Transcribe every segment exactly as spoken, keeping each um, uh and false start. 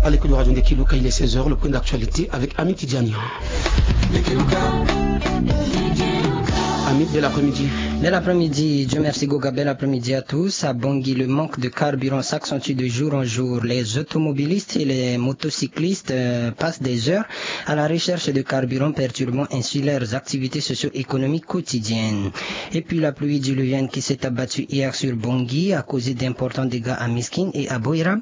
À l'écoute de Radio Ndekiluka, il est seize heures, le point d'actualité avec Amit Tidiane. Amit, bel après-midi. Bel après-midi, Dieu merci Goga, bel après-midi à tous. À Bangui, le manque de carburant s'accentue de jour en jour. Les automobilistes et les motocyclistes euh, passent des heures à la recherche de carburant, perturbant ainsi leurs activités socio-économiques quotidiennes. Et puis la pluie diluvienne qui s'est abattue hier sur Bangui a causé d'importants dégâts à Miskine et à Boirab.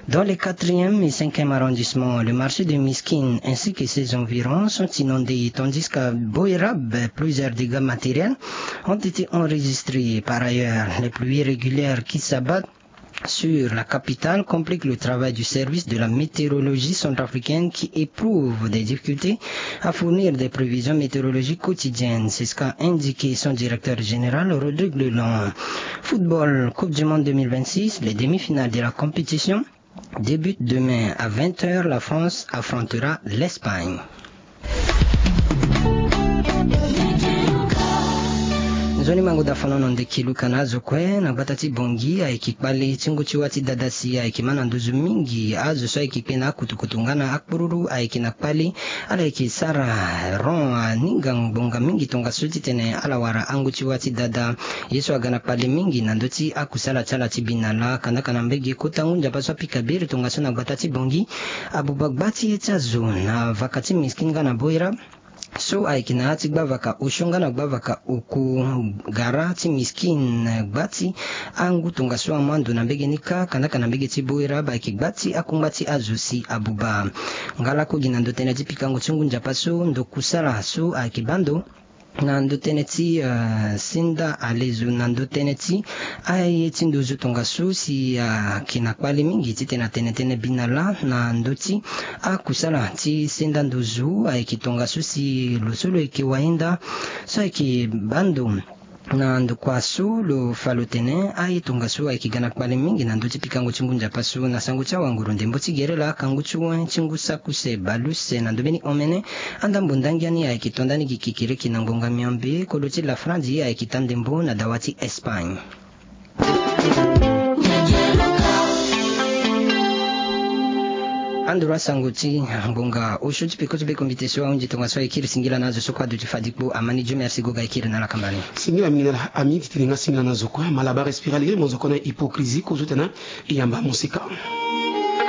Dans les quatrième et cinquième arrondissements, le marché de Miskine ainsi que ses environs sont inondés, tandis qu'à Boirab, plusieurs dégâts matériels ont été enregistrés. Par ailleurs, les pluies régulières qui s'abattent sur la capitale compliquent le travail du service de la météorologie centrafricaine qui éprouve des difficultés à fournir des prévisions météorologiques quotidiennes. C'est ce qu'a indiqué son directeur général, Rodrigue Lelon. Football, Coupe du Monde deux mille vingt-six, les demi-finales de la compétition débutent demain à vingt heures. La France affrontera l'Espagne. Nzoni mango da fano na ndeki luka na azo kue na gbata ti Bongi ayeke kpali ti ngu ti wâ ti dada si ayeke ma na nduzu mingi. Azo so ayeke kpe na akutukutu nga na akpururu ayeke na kpali. Ala yeke sara rond aninga ngbonga mingi tongaso titene ala wara angu ti wâ ti dada. Ye so aga na kpali mingi na ndö ti akusala ti ala ti bi na lâ. Kandaka na mbege kota ngu nzapa so apika biri tongaso na gbata ti Bongi. Abuba gba ti ye ti azo na vaka ti Miskine nga na Boira. So ayeke na yâ ti gbavaka osio nga na gbavaka oku. Gara ti Miskine gba ti angu tongaso amu ando na mbege ni kâ. Kandaka na mbege ti Boira ba yeke gba ti akungba ti azo si abuba. Nga lakue gi na ndo tënë ti pikango ti ngu nzapa so ndo kusala so ayeke baa ndo na ndo tënë ti senda alezo na ndo tënë ti aye ti nduzu tongaso si ayeke na kpali mingi titene atene tënë bi na lâ na ndö ti akusala ti senda nduzu ayeke tongaso si lo so lo yeke wayenda so ayeke baa ndo. Na ndokua so lo fa lo tene aye tongaso ayeke ga na kpali mingi na ndö ti pikango ti ngu nzapa so na sango ti awanguru ndembo ti gere laa akangu ti wen ti ngu saki use baleuse na ndö mbeni omene. Andambo ndangia ni ayeke to ndani gi kikiriki na ngbonga miombe kolo ti lafrandi ayeke ta ndembo na dawa ti Espagne. Anduru asango ti ngbonga osio ti peko ti be kombite so ahunzi tongaso ayeke kiri singila na azo so kue aduti fadikpo amani Dieu merci goga ayeke kiri na ala kamba ni. Singila mingi na ala ami titene nga singila na zo kue Malabar respira lege mo zo kue na hypocrisie kozo tena. E yamba mosika.